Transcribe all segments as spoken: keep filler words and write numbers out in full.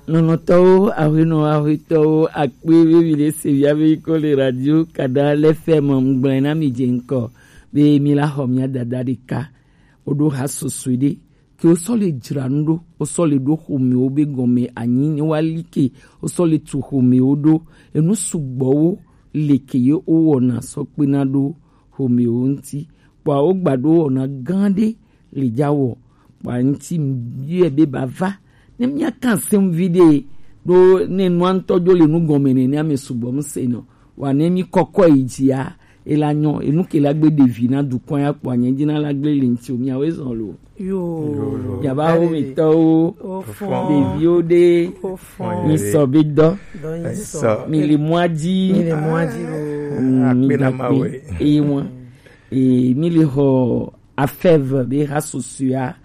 Lɔlɔ̃tɔwo, ahuenɔ, ahuetɔwo, akpe be mi le se via be ko le radio kada le fɛ mɔ ŋgblẽ na mi dze ŋkɔ be mi la xɔ mia dada ɖeka. Woɖo ha susue ɖe ke wosɔ le dzra nu ɖo, wosɔ le ɖo xomewo be gɔme anyi ne woali ke, wosɔ le tu xomewo ɖo. Enu sugbɔwo le ke ye wowɔna sɔ kpena ɖo xomewo ŋuti. Kpɔa wogba ɖo wɔna gã ɖe le dza wɔ. Kpɔa ŋuti yɔe be bava ne míaka seŋ vi ɖe ɖo ne nua ŋutɔ dzo le nu gɔme nene ame sugbɔ ŋusẽ nɔ. Wa ne mi kɔkɔ yi dzia, ela nyɔ, enu ke la gbe ɖevi na dukɔ ya kpɔa nye dzi na la gble le ŋuti o, miawoe zɔn lo. Yo. Yo, yo. Miaba wo mi tɔwo, Ofɔn. Ɖeviwo ɖe, Ofɔn. Mi sɔ be dɔ, Dɔ nyi sɔ. Mi le mɔa dzi. Mi le mɔa dzi o. Mm, mi Akpe na da Mawu. Kpe. Eye mɔ, e, mi le xɔ afɛve be ha susua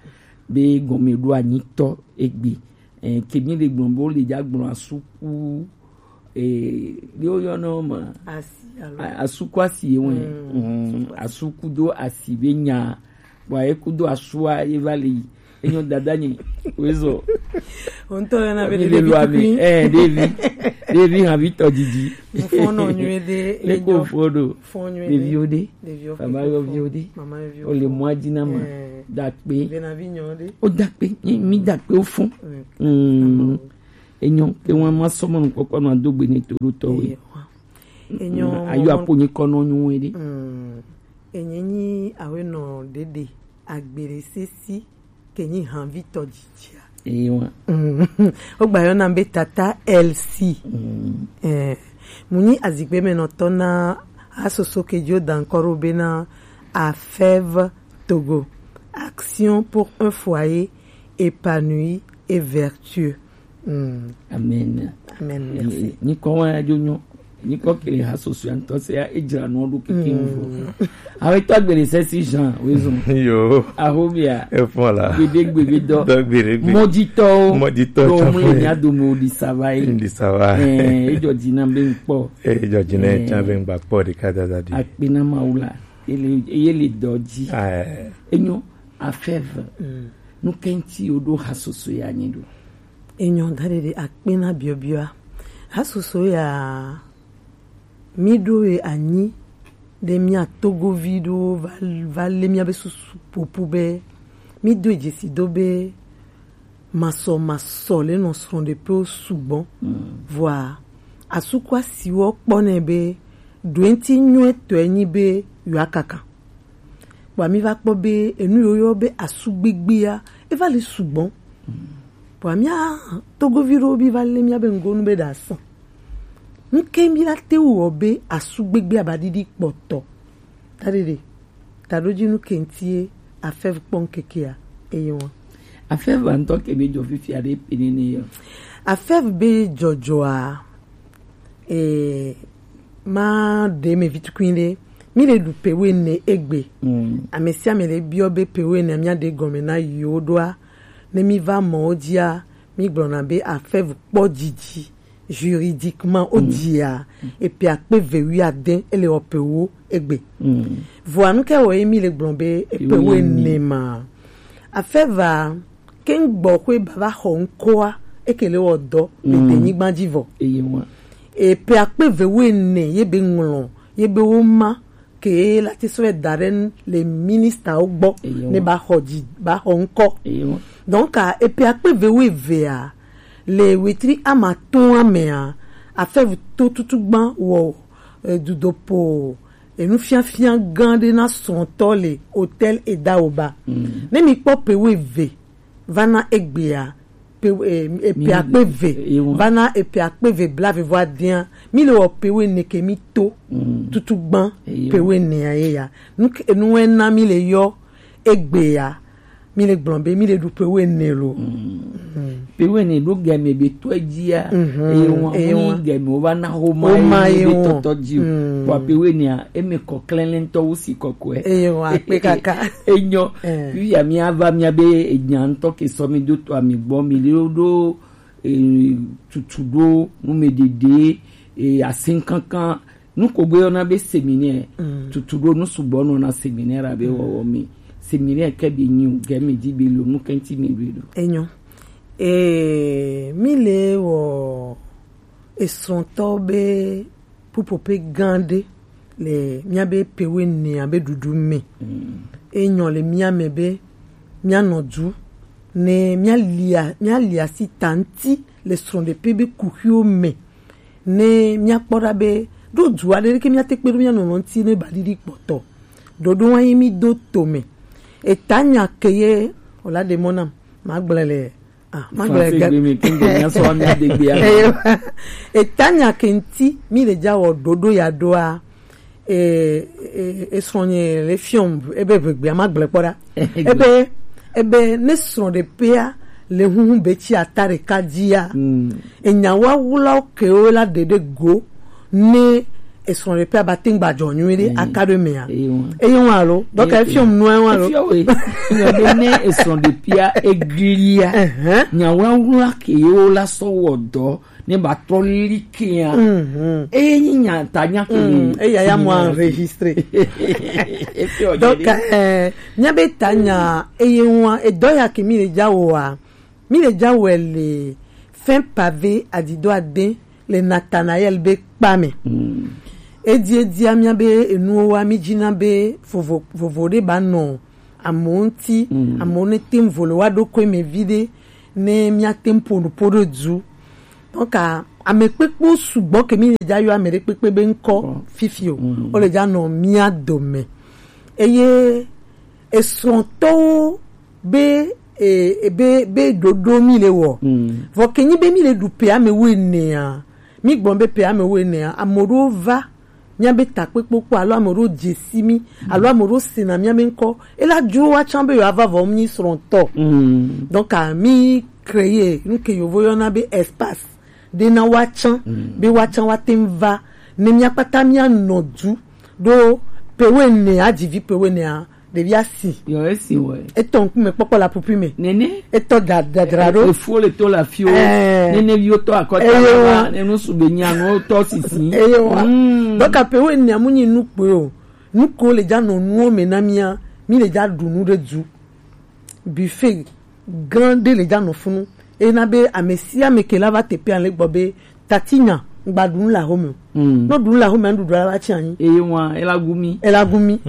be gɔme ɖo anyitɔ egbe. Eh, ke mi le gblɔ be wo le dza gblɔ asuku, eh, yo yɔ nɔ ma. Asi alo? A-, asuku asi ye wɛ. Mm. Mm, asuku do asi be nya. Bua ye kudo asua ye va le yi. Enyo dada nye. Wezɔ. O ŋutɔ yɔna be mi le ɖevi lo ame. Tukui. Eh, ɖevi. Ɖevi ha vi tɔ didi. Nufɔnɔ nyuie ɖe. Le ko fɔ ɖo. Fɔ nyuie ɖe. Ɖeviwo ɖe. Ɖeviwo. Baba yɔ viwo ɖe. Mama yɔ viwo. O le mɔa dzi na ma. Eh. Dakpe. Be na vi nyɔ ɖe. O dakpe. Mi, mi dakpe o fɔ. Mm. Mm. Enyo, ke wan ma sɔmɔ nukpɔkpɔ nɔ adogbe ne to ɖo tɔwe. Ewa. Enyo. Mm, ayo mɔ-, apo nyi kɔnɔ nyu we ɖe. Mm. Enye nyi awe nɔ ɖeɖe agbere sesi ke nyi hanvi tɔ dzidzia. Ewa. Mm. Wogba yɔna be tata L C. Mm. Eh, mu nyi azikpe me nɔ tɔ na asoso ke dzo dankɔro be na AFEV Togo. Action pour un foyer épanoui et vertueux. Mm. Amen. Amen, merci. Ni kɔ wa jo nyo. Ni kɔ kele ha soso ya ŋutɔ se ya edzra nɔ ɖo keke ŋu. Awe tɔ gbele sesi Jean, wezɔn. Yo. Ahobia. E fɔ la. Gbede gbede dɔ. Dɔ gbede gbede. Mɔdzitɔwo. Mɔdzitɔ. Dɔ mu le nya do mo di sava yi. Di sava. Eh, ejɔ dzi na be ŋkpɔ. Ejɔ dzi na tsa be ŋgba kpɔ ɖeka dada di. Akpe na Mawu la. Ele, ele dɔ dzi. Ah. Enyo, AFEV. Mm. Nu kɛnti wo ɖo ha soso ya nyi ɖo. Enyo da ɖeɖe akpe na biɔbiɔa. Hasoso ya mi ɖo ye anyi ɖe mia togovi ɖo va, va le mia be susu popo be mi do dzesi do be masɔ masɔ le nɔ srɔ̃ ɖe pe wo sugbɔ. Mm. Vɔa asuku asiwɔ kpɔ nɛ be ɖoenti nyuie tɔe nyi be yewoa kaka. Kpɔa mi va kpɔ be enu yiwo yɔ be asu gbigbia, eva li sugbɔ. Kpɔa mia togovi ɖewo bi va le mia be ŋgonu be ɖa sã. Nuke mi la te wu wɔ be asu gbigbia ba ɖiɖi kpɔtɔ? Ta ɖeɖe, ta ɖo dzi nuke ŋuti ye AFEV kpɔ ŋkekea eye wɔn. AFEV ŋutɔ ke be dzɔ fifia ɖe pe nene yɔ. AFEV be dzɔdzɔa, eh, ma ɖe me vi tukui ɖe. Mi le ɖu pe wene egbe. Mm. Ame sia ame le biɔ be pe wene mia ɖe gɔme na yewo ɖoa. Ne mi va mɔ wo dzia, mi gblɔna be AFEV kpɔ dzidzi juridiquement o dzia, epe akpe ve wi ade ele wɔ pe wo egbe. Mm. Vɔa nu ke wɔ ye mi le gblɔ be epe wene. Wene ma. AFEV a ke ŋgbɔ xwe baba xɔ ŋkɔa, eke le wɔ dɔ le denyigba dzi vɔ. Eye wa. Epe akpe ve wene ye be ŋlɔ, ye be wo ma ke la te sɔ da ɖe le ministawo gbɔ. Eye wa. Ne ba xɔ dzi, ba xɔ ŋkɔ. Eye wa. Donc, a, epe akpe ve wevea, le wetri amatɔa mea, AFEV to tutugba wɔ, e, dudopo, e, nufiafia gã ɖe na srɔ̃tɔ le hôtel Edaoba. Mm. Ne mi kpɔ pe weve, va na egbea, pe, e, e, pe akpe ve, va na epe akpe ve blavevɔ adea, mi le wɔ pe wene ke mi to tutugba pe wenea ye ya. Nu ke, nu wɛ na mi le yɔ egbea, mi le gblɔ be mi le ɖu pe wene lo. Mm. Pe wene ɖo gɛmɛ be tɔ dzia, eye wɔn, eye wɔn gɛmɛ wo va na xoma ye be tɔtɔ dzi o. Wa pe wenea, eme kɔ klɛnlɛntɔ wo si kɔkɔɛ. Eye wɔn akpe kaka. Enyɔ, eh. Fi ya mi ava mia be enya ŋutɔ ke sɔ mi do to ami gbɔ mi le ɖo, eh, tutu ɖo, nu me ɖeɖe, eh, asin kankan, nu ko gbe yɔna be séminaire, tutu ɖo nu sugbɔ nɔna séminaire abe wɔwɔ mi. Séminaire ke bi nyi o, gɛmɛ dzi bi lo, nu kɛnti mi bi lo. Enyɔ. Ee, mi le wɔ esrɔ̃tɔ be pupope gã ɖe le míabe pewe nea be ɖuɖu me. Enyɔ le mía me be míanɔ du ne míalia míalia si ta ŋuti le srɔ̃ɖeƒe be kuxiwo me ne míakpɔ ɖa be ɖo du aɖe ɖeke míate kpe ɖo mía nɔnɔ ŋuti ne ba ɖiɖi kpɔtɔ. Ɖoɖo wa yi mi do to me. Eta nya ke ye wòla ɖe mɔ nam magblẽ le Ah, ma gblɔ Français ga- gbe me, ke ŋgbe mía sɔ mía de gbea. Eyo. Eta nya ke ŋuti mi le dza wɔ ɖoɖo ya ɖoa. E, e, e srɔ̃nye le fiɔm ebe ʋegbea ma gblɔ kpɔ ɖa. Ebe, ebe ne srɔ̃ɖeƒea le huhu be tsi ata ɖeka dzia. Mm. Enya wa wula kewo la ɖe ɖe go ne esrɔ̃ɖeƒea ba te ŋu gba dzɔ nyuie ɖe aka ɖe mea. Eye wa alo dɔka efiɔm nua wa alo. Efiɔ we. Nyɔ be ne esrɔ̃ɖeƒea eglia. Nya wa wula ke yewo la sɔ wɔ dɔ ne ba trɔ li kea. Eye nyi nya ta nya ke. Eya ya mo enregistré. Efiɔ donc eh, mía be ta nya eye wa edɔ ya ke mi le dza wɔa. Mi le dza wɔe le fin pavé adido ade le Nathanaël be kpa me. Edi edia mía be enuwo wa mi dzina be vovo vovo ɖe ba nɔ amewo ŋuti, amewo ne te ŋu vo le wa ɖo ko eme vi ɖe ne mía te ŋu ƒo nu ƒo ɖo du. Donc ame kpekpewo sugbɔ ke mi le dza yɔ ame ɖe kpekpe be ŋkɔ fifi o. Wo le dza nɔ mía dome. Eye esrɔ̃tɔwo be e, e, be be ɖoɖo mi le wɔ. Vɔ ke nyi be mi le ɖu pe ame wo enea, mi gbɔn be pe ame wo enea, ame ɖewo va mía be takpekpe kpɔ alo ame ɖewo dze si mi alo ame ɖewo sena mía be ŋkɔ. Ela dzro wa tsã be yewoava vɔ mi srɔ̃tɔ. Donc a mi créer nu ke yovo yɔna be espace ɖe na wa tsã be wa tsã wa te ŋu va ne mía kpata mía nɔ du ɖo pe wo ene adzivi pe wo enea. Ɖevi asi. Yɔ esi wɔ. Etɔ ŋkume kpɔkpɔ la pupi me. Nene. Etɔ da dadra ɖo. Efo le to la fio. Nene viwo tɔ akɔta. Eye wa. Nenu sube nya no tɔ sisi. Eye wa. Donc ape wo ene amu nyi nu kpe o. Nu ko le dza nɔ nuwo me na mía, mi le dza ɖu nu ɖe du. Buffet gã ɖe le dza nɔ funu. Ena be ame sia ame ke la va teƒea le gbɔ be tati nya ŋgba ɖu nu le axome o. Nɔ ɖu nu le axome nuɖuɖu la va tsi anyi. Eye wa ela gumi. Ela gumi.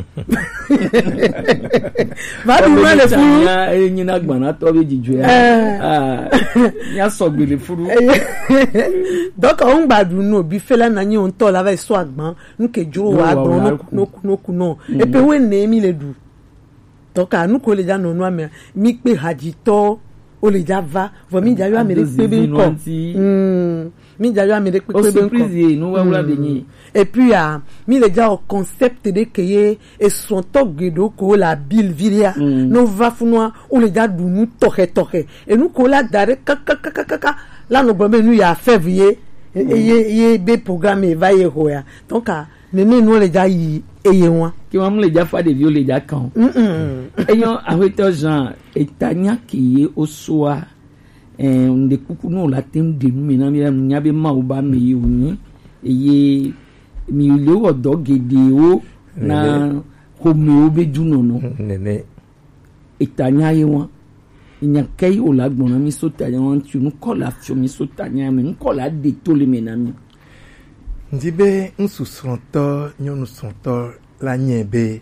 Va ɖu nu le funu. Eye nyi na gbanatɔ be dzidzɔe. Nya sɔgbe le funu. Donc wo ŋgba ɖu nu o bi fela na nyi o ŋutɔ la va yi sɔ agban nu ke dzro wa agban no ku no ku no. Epe wo ne mi le ɖu. Donc a nu ko le dza nɔ nua mea mi kpe hadzitɔ wo le dza va vɔ mi dza yɔ ame ɖe kpe be ŋkɔ. Mi dza yɔ ame ɖe kpe be ŋkɔ. Surprise ye nu wawla de nyi. Et puis a mi le dza o concept ɖe ke ye esrɔ̃tɔ geɖewo ko le abil vi ɖea no va funua wo le dza ɖu nu tɔxɛ tɔxɛ enu ko la da ɖe kakakakaka la nɔ gblɔ be nu ya fɛv ye ye ye be programme va ye ho ya. Donc a nene nuwo le dza yi eye wa. Ke wa mu le dza fa ɖeviwo le dza kan o. Enyɔ aƒetɔ Jean eta nya ke ye o soa. Ŋɖe kuku no la te ŋu ɖe nu me na mi la nya be Mawu ba me yi wonyi eye mi le wɔ dɔ geɖewo na xomewo be dunɔnɔ. Nene. Eta nya ye wa. Nya ke yi o la gbɔna mi so ta nya wa ŋuti nu kɔ la fiɔ mi so ta nya me nu kɔ la de to le me na mi. Ŋdi be ŋsu srɔ̃tɔ nyɔnu srɔ̃tɔ la nye be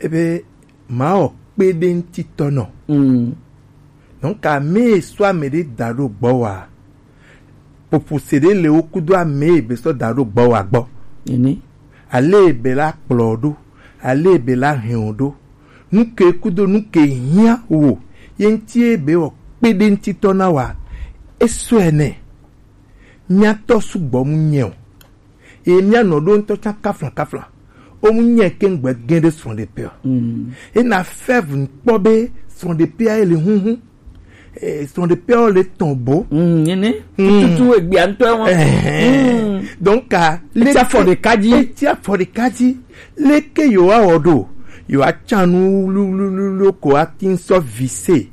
ebe mawɔ kpeɖeŋutitɔnɔ. Donc ame sɔ ame ɖe da ɖo gbɔ wa popo se ɖe le wo kudo ame be sɔ da ɖo gbɔ wa gbɔ. Ale be la kplɔ ɖo ale be la hɛn o ɖo nuke kudo nuke hiã wo ye ŋuti be wɔ kpeɖeŋutitɔ na wa. Esɔe nɛ. Míatɔ sugbɔ mu nyɛ o. Ye míanɔ ɖo ŋutɔ tsã kafla kafla. O mu nyɛ ke ŋgbe gẽ ɖe srɔ̃ɖeƒea. Ena fɛv ŋkpɔ be srɔ̃ɖeƒea ye le huhu. Srɔ̃ɖeƒea le tɔn bo. Nene. Tutu egbea ŋutɔ wɔn. Donc a eti afɔ ɖeka dzi. Eti afɔ ɖeka dzi. Leke yewoawɔ ɖo? Yewoatsa nu wluwluwlu ko ati ŋsɔ vise.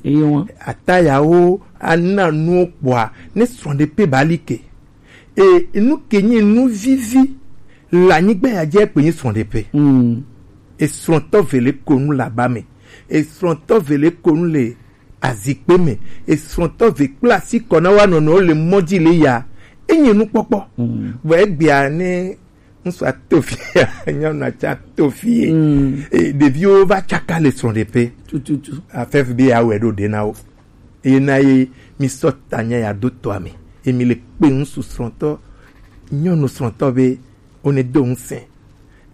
Atayawo ana nuwo kpɔa ne srɔ̃ɖeƒe ba li ke. E nu ke nye nu vivi le anyigba ya dzi ekpe nye srɔ̃ɖeƒe. Esrɔ̃tɔ vele ko nu le aba me. Esrɔ̃tɔ vele ko nu le azikpe me, esrɔ̃tɔ ve kple asi kɔ na wa nɔnɔwo le mɔ dzi le ya. Enye nukpɔkpɔ. Vɔ egbea ne ŋutsua to fi ya, nyɔnua tsa to fi ye. E, ɖeviwo va tsaka le srɔ̃ɖeƒe. Tututu. Afɛf be yeawɔe ɖo ɖe na wo. Eye na ye mi sɔ tanya ya do tɔa me. Ye mi le kpe ŋutsu srɔ̃tɔ, nyɔnu srɔ̃tɔ be wo ne do ŋusẽ.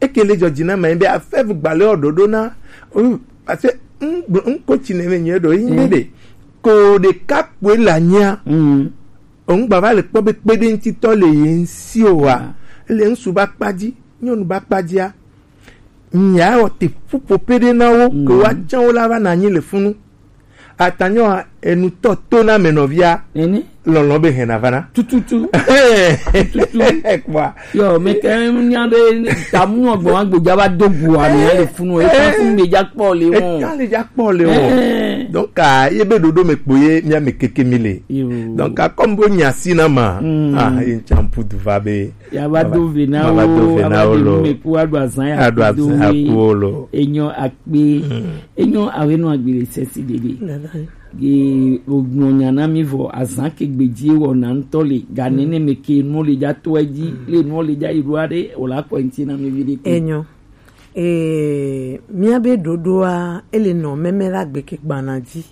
Eke le dzɔdzi na ma be afɛv gbalẽ ɔ ɖoɖo na. Oh, parce que ŋ gblɔ ŋ ko tsi ne me nyuie ɖo yi ne ɖe. Ko ɖeka kpoe le anyia. Ŋgba va le kpɔ be kpeɖeŋutitɔ le ye ŋsi o wa. Le ŋsu ba kpa dzi, nyɔnu ba kpa dzia. Nya wɔ te ƒuƒo pe ɖe na wo ke wa tsã wo la va na anyi le funu. Atanyɔ a, enutɔ to na me nɔvia. Lɔlɔ be hɛn na va na. Tututu. Tututu. Kpɔa. Yɔ, me ke nya be tamu nyɔ gbɔ agbo dza va do gu ami le funu. E ka fun be dza kpɔ le wo. E ka le dza kpɔ le wo. Donc a ye be ɖoɖo me kpo ye mia me keke mi le. Donc a comme bo nya si na ma. Ah, ye ntsa mpudu va be. Ya va do ve na wo, ame ɖe me ku aɖo azã ya aɖo azã ya ku wo lo. Enyo akpe. Enyo awe no agbe le sesi dede. Ge ogbɔn nya na mi vɔ azã ke gbedzi wɔ na ŋutɔ le ga nene me ke no le dza to edzi le no le dza yi ɖo aɖe o la kɔ ŋti na mi vi ɖe ko. Enyo. Ee, míabe ɖoɖoa ele nɔ mɛmɛ la gbe ke gbana dzi.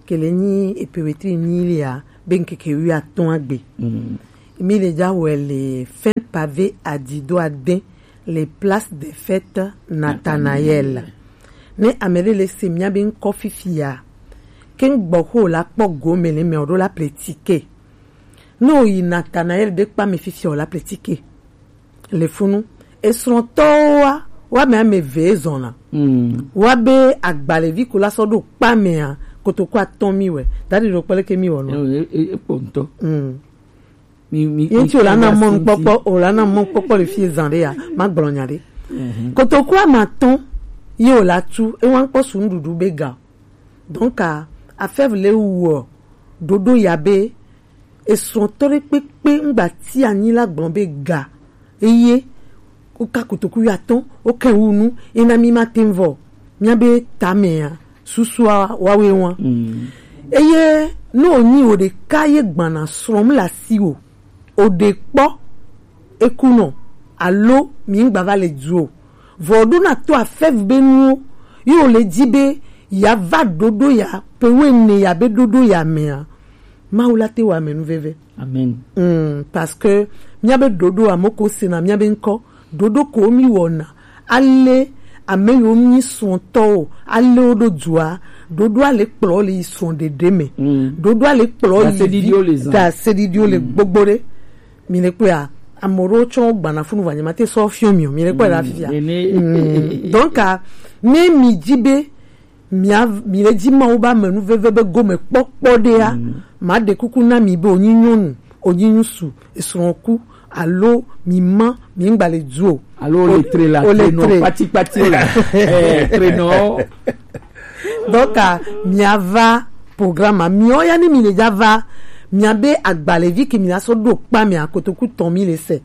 Ke le nyi epe wetri nyi lia be ŋkeke wi atɔ̃ agbe. Mi le dza wɛ le fin pavé adido adin le place des fêtes Nathanaël. Ne ame ɖe le se mía be ŋkɔ fifia, ke ŋgbɔ xo la kpɔ gome le mɛ o ɖo la ple tike. Ne o yi Nathanaël ɖe kpa me fifia o la ple tike. Le funu, esrɔ̃tɔwoa, wa me ame eve ezɔna. Wa be agbalevi ko la sɔ ɖo kpa mea, kotoku atɔ̃ mi wɛ. Daɖi ɖo kpele ke mi wɔ nɔ. Ekpɔ ŋutɔ. Mi, mi, ye ŋuti wòle ana mɔnukpɔkpɔ, wòle ana mɔnukpɔkpɔ le fi zan ɖe ya, magblɔ nya ɖe. Kotoku amatɔ̃ ye wòle atu, ewa ŋkpɔ su nuɖuɖu be ga. Donc a, afɛv le wɔ ɖoɖo ya be esrɔ̃tɔ ɖe kpekpe ŋgba ti anyi la gblɔ be ga eye woka kotoku ya tɔ̃, woke wu nu, ena mi ma te vɔ. Míabe tamea, susua wawe wa. Eye ne wònyi wò ɖeka ye gbana srɔ̃m le asiwò, o ɖe kpɔ, ekunɔ, alo mi ŋgba va le du o. Vɔ ɖo na to afɛv be nuwo, ye wòle dzi be ya va ɖoɖo ya, pe wo ene ya be ɖoɖo ya mea, Mawu la te wɔ ame nuveve. Amen. Mm, parce que míabe ɖoɖo ame ko sena míabe ŋkɔ, ɖoɖo ko mi wɔna, ale ame yiwo mi srɔ̃tɔwo, ale wo ɖo dua, ɖoɖoa le kplɔ le yi srɔ̃ ɖeɖe me. Ɖoɖoa le kplɔ yi da sedidiwo le gbogbo ɖe. Mi le kpɔa, ame ɖewo tsɔ gbana funu va nyama te sɔ fiɔ mi o, mi le kpɔe ɖa fifia. Donc a, ne mi dzi be mia mi le dzi Mawu be amenuveve be gome kpɔkpɔ ɖea, maɖe kuku na mi be wònyi nyɔnu, wònyi ŋutsu, esrɔ̃ ku, alo mi ma, mi ŋgba le du o. Alo le tre la, o le trenɔ tre. Kpatikpati o la. Eh, trenɔ. Donc a, miava programme a, miɔ ya ne mi le dza va, miabe agbalevi ke mi la sɔ ɖo kpa mea, kotoku tɔ̃ mi le se.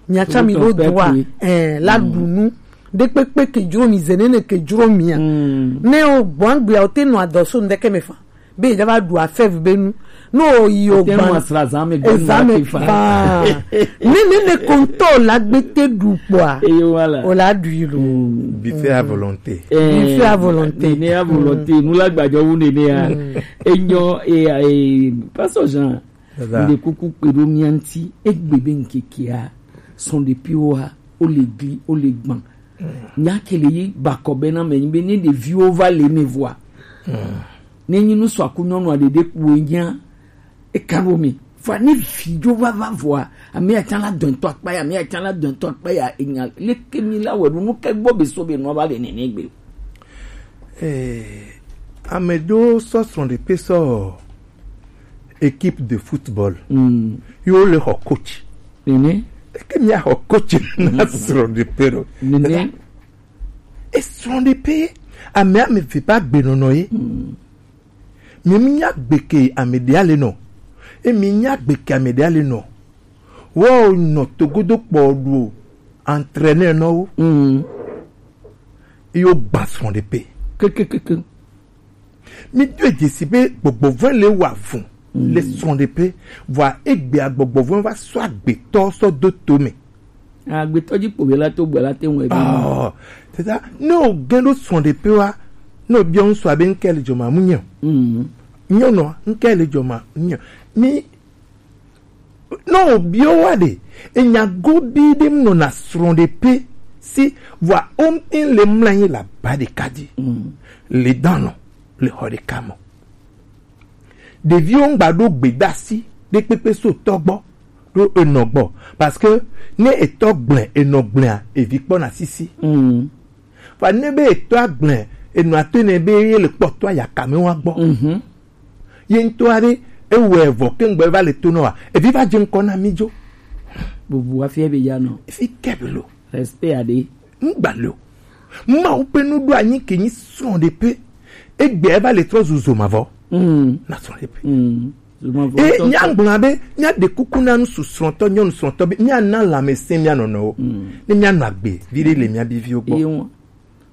Miatsa mi ɖo dua, eh, la ɖu nu. Ɖekpekpe ke dzro mi, zenene ke dzro mia. Ne o gbɔngbea o te nɔ adɔ so ŋdeke me fa. Be dza va ɖu afɛv be nu. No o yi o gban. Ezame fa. Ne ne ne konto la gbete ɖu kpɔa. O la ɖu yi lo. Buffet à volonté. Buffet à volonté. Ne à volonté. Nu la gbadzɔ wu ne ne ya. Enyo e e pastor Jean. Ɖe kuku kpe ɖo mía ŋuti, egbe be ŋkekea, sɔ̃ ɖepiwoa, wo le gli, wo le gbã. Nya ke le yi bakɔ be na me nyi be ne ɖeviwo va le me vɔa. Ne nyi nu sɔ aku nyɔnua ɖeɖe kpoe nya, eka ɖo me. Vɔa ne vi dzo va va vɔa, ame ya tsã la dɔntɔ akpa ya, ame ya tsã la dɔntɔ akpa ya, enya leke mi la wɛ ɖo nu ke gbɔ be so be nua va le nene gbe. Eh, ame ɖewo sɔ srɔ̃ɖeƒe sɔ équipe de football. Yo le xɔ coach. Nene. Eke mia xɔ coach na srɔ̃ɖeƒe ɖo. Nene. E srɔ̃ɖeƒe ame ame ve ba gbenɔnɔ ye. Mi mi nya gbe ke ame ɖe ale nɔ. E mi nya gbe ke ame ɖe ale nɔ. Wo nɔ togodo kpɔ ɖo entraîneur nɔ wo. Yo gba srɔ̃ɖeƒe. Kekekeke. Mi do edzesi be gbɔgbɔ vɔn le wa fun le srɔ̃ɖeƒe, vɔa egbea gbɔgbɔ vɔn va sɔ agbetɔ sɔ do to me. Agbetɔ dzi kpo be la to gbe la te ŋu ebe. Oh, teta, ne o gɛn ɖo srɔ̃ɖeƒe wa, ne o biɔ ŋsua be ŋkɛ le dzɔma mu nyɛ o. Mm. Nyɔnua, ŋkɛ le dzɔma mu nyɛ o. Mi Ne wòbiɔ wa ɖe, enya gobii ɖe nɔna srɔ̃ɖeƒe si, vɔa womte le mlɔ anyi le aba ɖeka dzi. Mm. Le danɔ le xɔ ɖeka me. Ɖeviwo ŋgba ɖo gbedasi ɖe kpekpe so tɔ gbɔ ɖo enɔ gbɔ. Parce que ne etɔ gblẽ, enɔ gblẽa, evi kpɔna sisi. Mm. Vɔa ne be etɔa gblẽ, enɔa to nɛ be ye le kpɔtɔa yakame wa gbɔ. Mhm. Ye ŋutɔ aɖe ewɔe vɔ ke ŋgbe va le to nɔ wa. Evi va dze ŋkɔ na mi dzo. Bubu afia be ya nɔ. Fi ke be lo. Respect aɖe. Ŋgba lo. Mawu ƒe nuɖo anyi ke nyi srɔ̃ɖeƒe. Egbea va le trɔ zu zomavɔ. Mm. Na srɔ̃ɖeƒe. Mm. Zomavɔ. E ŋutɔ nya gblɔ be nya ɖe kuku na ŋsu srɔ̃tɔ nyɔnu srɔ̃tɔ be nya na lãmesẽ mia nɔnɔwo. Mm. Ne mia nɔ agbe vi ɖe le mia bi viwo gbɔ. Eye ŋu.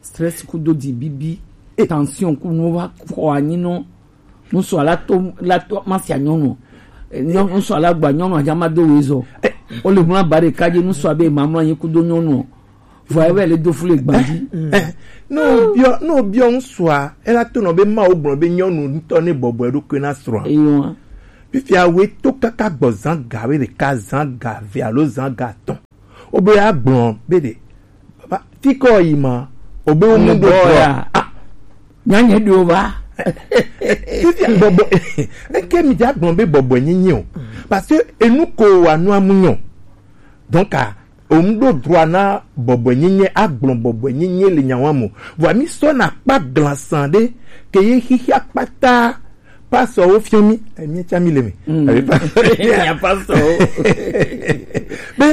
Stress kudo dzi bibi, eh, tension ku nu va xɔ anyi nɔ. Ŋsua la to, la to ma sia nyɔnu. Eh, nyɔ-, ŋsua la gba nyɔnu adza ma do wezɔ. Eh. O le mla ba ɖeka dzi ŋsua be ma mla anyi kudo nyɔnu. Vɔ ebe le do fu le gbadzi. Eh, eh. No biɔ, no biɔ ŋsua, ela to nɔ be Mawu gblɔ be nyɔnu ŋutɔ ne bɔbɔe ɖokui na srɔ̃a. Eyo. Fifia we to kaka gbɔ zã ga we ɖeka, zã ga ve alo zã ga atɔ̃. Wobe agblɔ be ɖe. Baba, fi ke yi ma, wobe wo mu do ya. Ah. Nyanye ɖo va. Fifia bɔbɔ, eke mi dza gblɔ be bɔbɔ nyenye o. Parce que enu ko wa nu amu nyɔ. Donc, ah, o mu do droit na bɔbɔ nyenye, agblɔ bɔbɔ nyenye le nyawa mo. Vɔ mi sɔ na kpa glasan ɖe, ke ye xixia kpata. Pastor wo fiɔ mi, eh, mi tsa mi le me. Mm. Abi pa- Nya pastor wo. Be,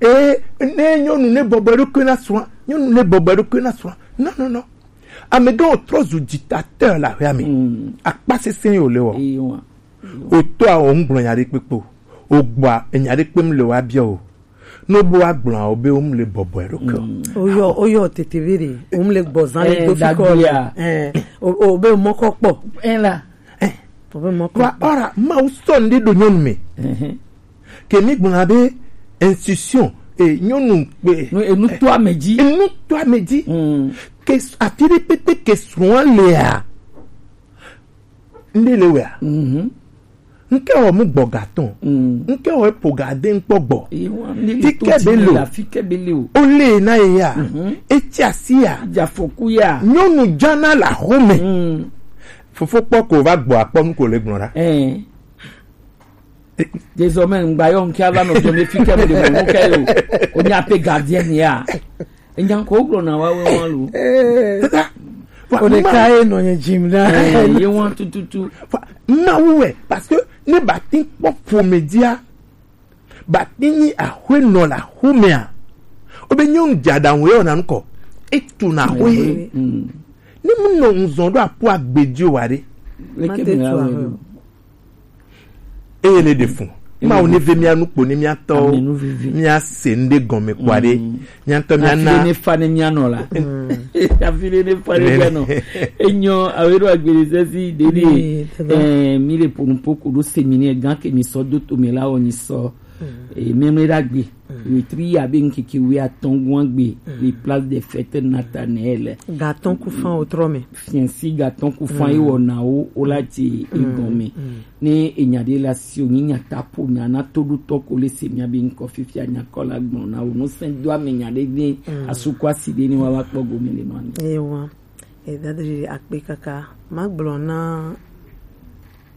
eh, ne nyɔnu ne bɔbɔ ɖokui na srɔ̃a, nyɔnu ne bɔbɔ ɖokui na srɔ̃a. Non, non, non. Amegã o trɔ zu dictateur la hwea me. Mm. Akpa sese yo le wɔ. Eyo wa. O to a o ŋgblɔ nya ɖe kpekpe o. O gbɔa, enya ɖe kpem le wa biɔ o. No bo agblɔ o be o mu le bɔbɔ ɖokui o. Mm. O yɔ, o yɔ tete be ɖe, o mu le gbɔ zan le do fi kɔ. Eh, o, o be mɔkɔ kpɔ. Eh, la. Eh. Wa ora, Mawu sɔ ŋɖe ɖo nyɔnu me. Mhm. Ke mi gblɔna be institution, eh, nyɔnu kpe. No, enu to ame dzi. Enu to ame dzi. Mm. Ke s-, afi ɖe kpekpe ke srɔ̃a lea, ŋɖe le wea. Mhm. Ŋke wɔ mu gbɔ gatɔn. Mm. Ŋke wɔ epo gade ŋkpɔ gbɔ. Fi ke be lo. Fi ke be lo. O le na ye ya. Mhm. Etsi asi ya. Dzafoku ya. Nyɔnu dzana la home. Mm. Fofo kpɔ ko va gbɔ akpɔ nu ko le gblɔ ɖa. Eh. Désormais, ŋgba yɔ ŋke ava nɔ dome fi ke mu de mo ke yo. O nya pe gardien ya. Enya ko gblɔ na wa we wa lo. Eh. Wa- O de ma- ka ye nɔ nye dzim na. Eh, ye wa tututu. Wa- Mawu wɛ, parce que ne ba ti kpɔ ƒomedzia, ba ti nyi aƒenɔ le aƒemea, wobe nyɔnu dze aɖaŋu ye wɔna ŋkɔ, etu na aƒe. Mm. Ne mu nɔ ŋzɔn ɖo aƒo agbe dzi o wa ɖe. Leke Mate me tu awe aƒe. Eye le ɖe fun. Eye Mawu ne ve mia nu kpo ne mia tɔwo. Ame nu vivi. Mia se ŋɖe gɔme kpo aɖe. Mm. Mia ŋutɔ mia na. Afi ɖe ne fa ne mia nɔ la. Mm. Afi ɖe ne fa ne mia nɔ. Enyo, awe ɖo agbele sesi ɖeɖe. Oui, c'est vrai. Eh, mi le ponu poko ɖo séminaire gan ke mi sɔ do to me la o ni sɔ. Mm. Eh, mi me ɖa gbe. Mm. Wetri ya be ŋkeke wi atɔn gwan gbe. Mm. Le place des fêtes Nathanaël. Gatɔn ku fan o trɔ me. Fiɛnsi gatɔn ku fan ye wɔ na wo, wo la ti egɔme. Mm. Ne enya ɖe la si o, nyi nya ta po nya na toɖotɔ ko le se mia be ŋkɔ fifia nya kɔ la gbɔn na wo. No sɛn do ame nya ɖe ne Mm. Asuku asi ɖe ne wa va kpɔ gome le nɔ ame. Ewa. E dadi akpe kaka. Ma gblɔ na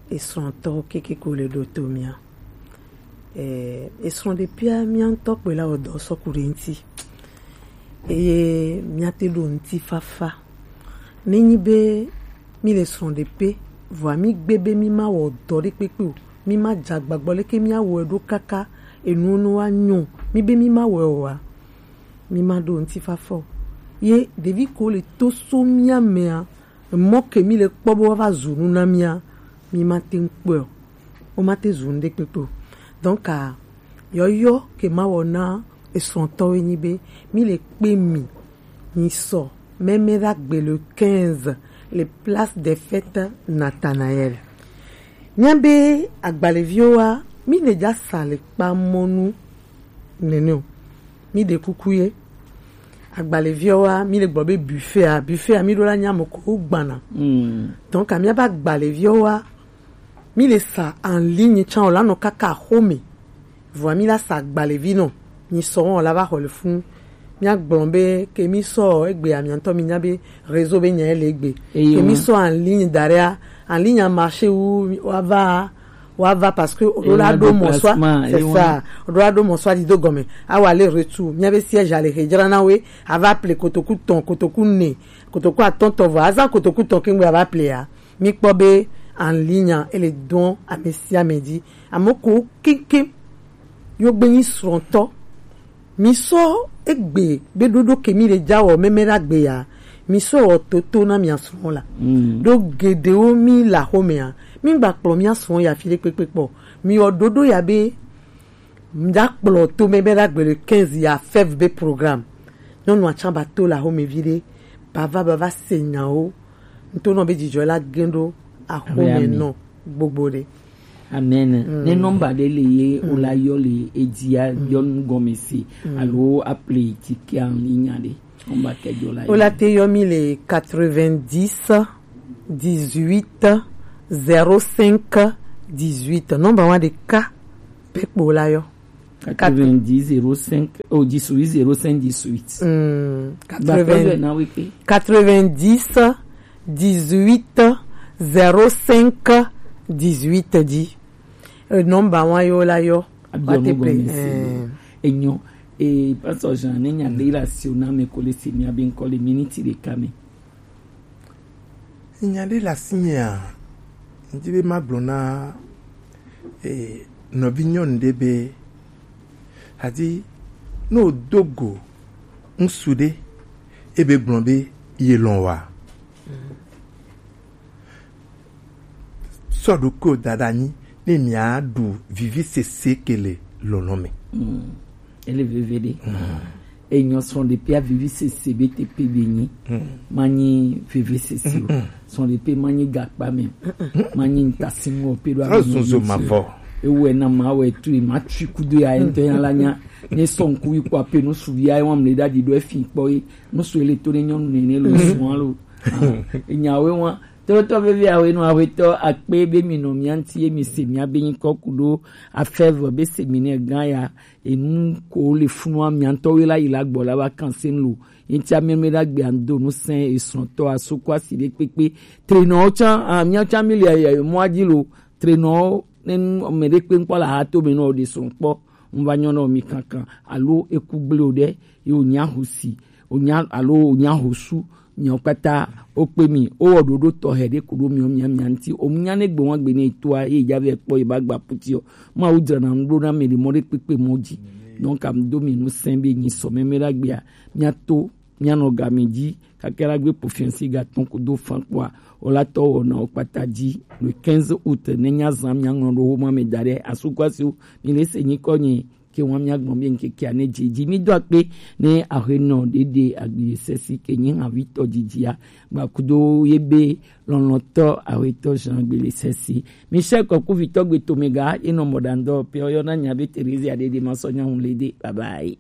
esrɔ̃tɔ keke ko le ɖo to mia. Eh, esrɔ̃ɖeƒea mía ŋutɔ kpɔe la wɔ dɔ sɔ ku ɖe ŋuti. Eye míate ɖo ŋutifafa. Nenyi be mi le srɔ̃ɖeƒe, vɔa mi gbe be mi ma wɔ dɔ ɖe kpekpe o, mi ma dze agbagba leke mía wɔe ɖo kaka enu nu wa nyɔ, mi be mi ma wɔe oa, mi ma ɖo ŋutifafa o. Ye ɖevi ko le to so mía mea, mɔ ke mi le kpɔ be woava zu nu na mía, mi ma te ŋu kpɔe o. Wo ma te zu nu ɖe kpekpe o. Donc, ah, yɔyɔ ke ma wɔ na esrɔ̃tɔwo nyi be, mi le kpe mi, mi sɔ mɛmɛ ɖa gbe le quinze, Les places des fêtes Nathanaël. Míabe agbalẽviwo wa, mi le dza sa le kpamɔnu nene o. Mi ɖe kuku ye. Agbalẽviwo wa, mi le gbɔ be buffet a, buffet a, mi ɖo la nya mo ko gbana. Donc, amia ba agbalẽviwo wa, mi le sa en ligne tsan o la nɔ kaka xome. Vɔa mi la sa agbalẽvi nɔ. Mi sɔ wɔn la va xɔ le fun. Mia gblɔ be ke mi sɔ egbe amiantɔ mi nya be réseau be nya le egbe. Ke mi sɔ en ligne daria, en ligne a marché wu wa va, wa va parce que o la do mɔ swa, c'est ça. O la do mɔ swa di do gɔme. A wa le retour. Mia be siège a le hejra na we, a va ple kotoku tɔn, kotoku ne, kotoku atɔntɔ vɔ. A zan kotoku tɔn ke ngbe a va ple ya. Mi kpɔ be en ligne a, ele dɔn ame sia ame dzi. Ame ko keŋkeŋ yo gbe nyi srɔ̃tɔ. Mi sɔ egbe be ɖoɖo ke mi le dza wɔ mɛmɛ ɖa gbe ya. Mi sɔ wɔ toto na mia srɔ̃ la. Ɖo geɖewo mi la xomea, mi gba kplɔ mia srɔ̃ ya fi ɖe kpekpe kpɔ. Mi wɔ ɖoɖo ya be mi da kplɔ to mɛmɛ ɖa gbe le quinze ya fève be programme. Nyɔnu atsan ba to la xome vi ɖe. Bava bava se nyawo. Ŋutɔ nɔ be dzidzɔ la gɛn ɖo axome nɔ gbogbo ɖe. Amen. Ne nɔmba ɖe le ye o la yɔ le edzia yɔ nu gɔme se alo aple tike anyi nya ɖe. Nɔmba kɛjɔ la. O la te yɔ mi le quatre-vingt-dix dix-huit zéro cinq dix-huit. Nɔmba wa ɖeka pe kpo la yɔ. Quatre-vingt-dix zéro cinq, oh, dix-huit zéro cinq dix-huit. Hmm, quatre-vingts, quatre-vingt-dix dix-huit zéro cinq dix-huit dzi. Eh, nɔmba wa yɔ la yɔ. Abiɔ mo gɔme se. Enyo. E pastor Jean ne nya de la si o na me ko le se mi abi nkɔ le miniti ɖeka me. Nya ɖe le asinye a, ŋdi be magblɔ na, eh, nɔvi nyɔnu ɖe be, adi, ne wòdo go ŋsu ɖe, ebe gblɔ be ye lɔ̃ wa. Sɔ ɖokuiwò da ɖe anyi, ne miaɖu vivisese ke le lɔlɔ̃ me. Ele veve ɖe. Enyɔ srɔ̃ɖeƒea vivisese be teƒe be nyi. Manyi vivisese o. Srɔ̃ɖeƒe manyi gakpa me. Manyi ŋutasiŋɔ pe ɖo ame. Zɔzɔ mavɔ. Ewɔe na ma wɔ etu ma tui kudo ya ŋutɔ ya la nya. Ne sɔ ŋku yi kɔ ape nu suvi ya wɔm le ɖa ɖi ɖo efi kpɔ ye. Nu su ele to ne nyɔnu nene lo srɔ̃a lo. Enyawe wa. Tɔtɔ vevi awe nu awetɔ akpe be mi nɔ mia ŋuti ye mi se mia be nyikɔ ku ɖo afɛvɔ be seminɛ gã ya. Enu ko le funua mia ŋutɔwo la yi la gbɔ la va kan se nu lo. Ŋuti ame me ɖagbe ando nu sɛn esrɔ̃tɔ asoko asi ɖe kpekpe. Trenɔwo tsã, ah, mia tsã mi le, eh, mɔa dzi lo. Trenɔwo ne nu ame ɖe kpe ŋkpɔ le ahato me nɔ ɖe srɔ̃ kpɔ. Ŋva nyɔ nɔ mi kankan alo eku gble o ɖe ye wònya ho si, wònya, alo wònya ho su, miawo kpata wokpe mi, wowɔ ɖoɖo tɔxɛ ɖe ku ɖo miwo mia, mia ŋuti. Wònya ne gbe wɔn gbe ne etoa, ye dza vɛ kpɔ ye ba gba puti o. Mawu dzrana nu ɖo na ame ɖe mɔ ɖe kpekpe mɔ dzi. Donc, am do mi nu sɛn be nyi sɔ mɛmɛ ɖa gbea, miato, mianɔ game dzi, kake la gbe po fiansi ga tɔn kudo fan kpɔa, o la tɔ wɔ na o kpata dzi. Le quinze août, ne nya zan mia ŋlɔ ɖo wo ma me da ɖe, asukwasiwo, mi le se nyikɔ nye, ke wɔn mia gbɔn be ŋkeke ane dzi dzi. Mi do akpe ne ahe nɔ ɖeɖe agbi sesi ke nyi havi tɔ dzidzia. Gba kudo ye be lɔlɔtɔ ahe tɔ zan agbi sesi. Mi se kɔ ku vitɔ gbe to me ga, e nɔ mɔ ɖa ŋdɔ pe o yɔ na nya be Teresia ɖeɖe ma sɔ nya ŋu le de. Bye bye.